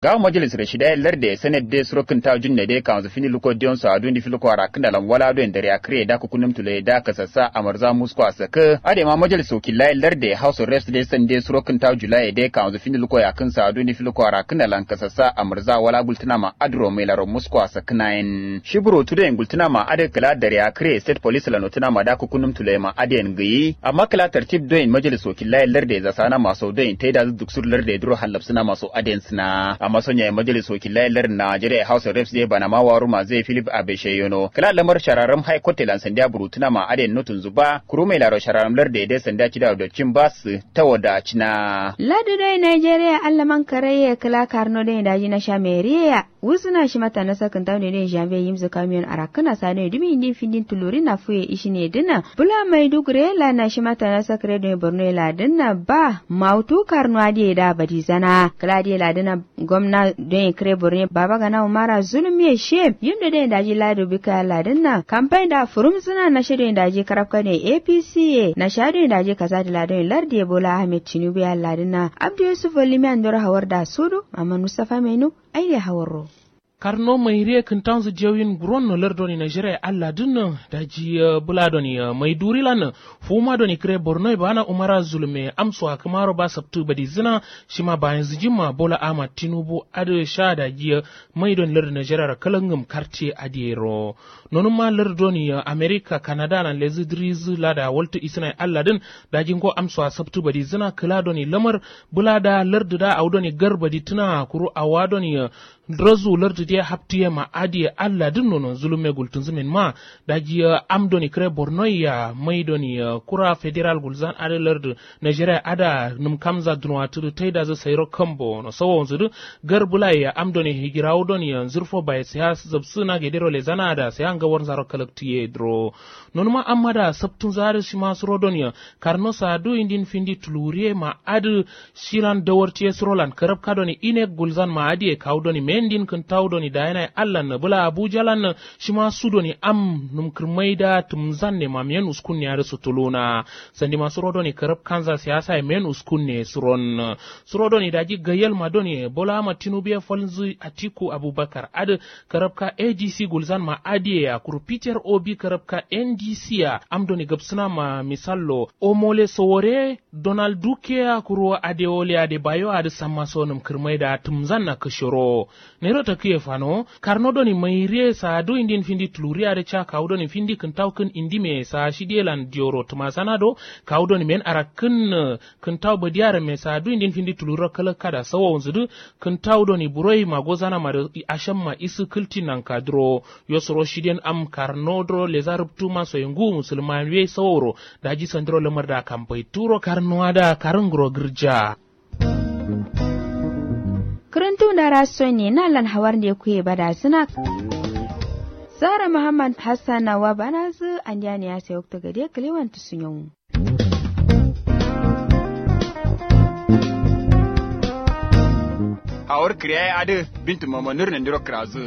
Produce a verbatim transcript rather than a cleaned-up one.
Ngawo majalis rashida ye larde senate de suro kǝntawu junne de kawanzǝ findi luko diyon so aduwindi filuko arakkǝna lan wala doyin dariya kǝre da kukunum tule da kasassa amarza musko asakǝ adai ma majalis wakilla ye larde house of reps de sande suro kǝntawu julaye de kawanzǝ findi luko yakkǝn so aduwindi filuko arakkǝna lan kasassa amarza wala gultǝna ma aduro mailaro musko asakǝna yen shi burotu doyin gultǝna ma adǝ kǝla dariya kǝre state police lan notǝna ma da kukunum tule ma adǝ yen gǝyi amma kǝla tartib doyin majalis wakilla ye larde zasana ma so doyin taidazǝ duksur larde duro hallabsǝna ma so adǝ yen sǝna amma sonyaye majalis wakilla ye larde najeriya house of reps de banama waruma zai philip abeshe yono kǝla lamar shararam high court lan sandiya burutuna ma adǝ yen notunzǝ ba kuru mailaro shararam larde de sandiya cida dotcin ba sǝ tawo da cina. Lardu doyin najeriya allaman karaiye kǝla karno doyin daji nasha meriye ya wusuna shima tanasa kǝntawu ne doyin janvier yimzǝ kamiyon arakkǝna sa doyin dumi indin findin tulurin na fuye ishine dǝna bula maiduguri ye la nashima tanasa kǝre doyin borno ye la dǝna ba mautu karno adǝ ye da badizana kǝla adǝ ye la dǝna gomna doyin kǝre borno ye baba gana umara zulum ye she yim do doyin daji lado bika ye la dǝna kampanye da furumzǝna nasha doyin daji karabka doyin apc ye nasha doyin daji kasa dǝ la doyin lardu ye bola ahmed tinubu ye la dǝna abdu yusuf olimiya ndoro hawar da sudu amma mustafa mainu aide hawarro. Karno mairiye kǝntanzǝ diyauyin guronno lardoni najeriya ye allah dǝnnǝ daji bula doni maiduri lan fuma doni kǝre borno ye bana umara zulum ye amso akǝmaro ba sabtǝ badizǝna shima bayanzǝ jimma bola ahmad tinubu adǝ sha daji mai doni lardu najeriya ro kǝlangǝm kartiye adǝ yero nonumma lardu doni amerika kanada lan lezǝ dǝrizǝ lada waltǝ isǝna ye allah dǝn daji ngo amso asabtǝ badizǝna kǝla doni lamar bula da lardu da awo doni gar baditǝna kuru awa doni razu lardu diye haptiye ma adiye allah dǝn nono zulumme gultǝnzǝ min ma daji am doni kǝre borno ya mai doni kura federal gulzan adǝ lardu najeriya ada nǝm kamza dunowa tǝdǝ taidazǝ sairo kambo no sawonzǝ dǝ gar bulaye ya am doni higirawu doni nzǝrfo baye siya zabsǝ na gedero lezana ada siya ngawarzaro kalaktiye dǝro nonuma am ada sabtǝnzǝ adǝ shima suro doni karno sadu indin findi tuluriye ma adǝ shilan dawartiye surolan karabka doni inek gulzan ma adiye kawu doni mendin kǝntawu doni dayinaye allan bǝla abujalan shima su doni am nǝmkǝrmai da tǝmzanne ma men uskunne adǝ sutuluna sandima suro doni karabkanza siyasaye men uskunne suron suro doni daji gayyalma doni bola ahmad tinubu ye falnzǝ atiku abubakar adǝ karabka adc gulzan ma adiye ya kuru peter obi karabka ndc ya am doni gabsǝna ma misallo omole sowore donald duke ya kuru adewole adebayo adǝ samma sonǝm kǝrmai da tǝmzanna kǝshiro nairo takǝye fano karno doni mairiye sadu indin findi tuluri adǝ ca kawu doni findi kǝntawu kǝn indime sa shidiye lan diyoro tǝmasana do kawu doni men arakkǝn kǝntawu badiya ramme sadu indin findi tuluriro kalakka da sawowunzǝ dǝ kǝntawu doni buroi ma gozana ma dǝ ashamma isǝ kǝltin nanka dǝro yo suro shiden am karno dǝro leza rubtu masoye nguwu musulma ye sawowuro daji sandiro lamar da kambai turo karnuwa da karǝnguro gǝrja. Kǝrǝntu ndara sonne na lan hawar nde kuye bada sǝna sara muhammad hassan na wa bana zǝ andiya ne ya sai waktu gade kǝlewan tusunyawu. Hawar kǝriya ye adǝ bintu mamanur nandiro kǝrazǝ.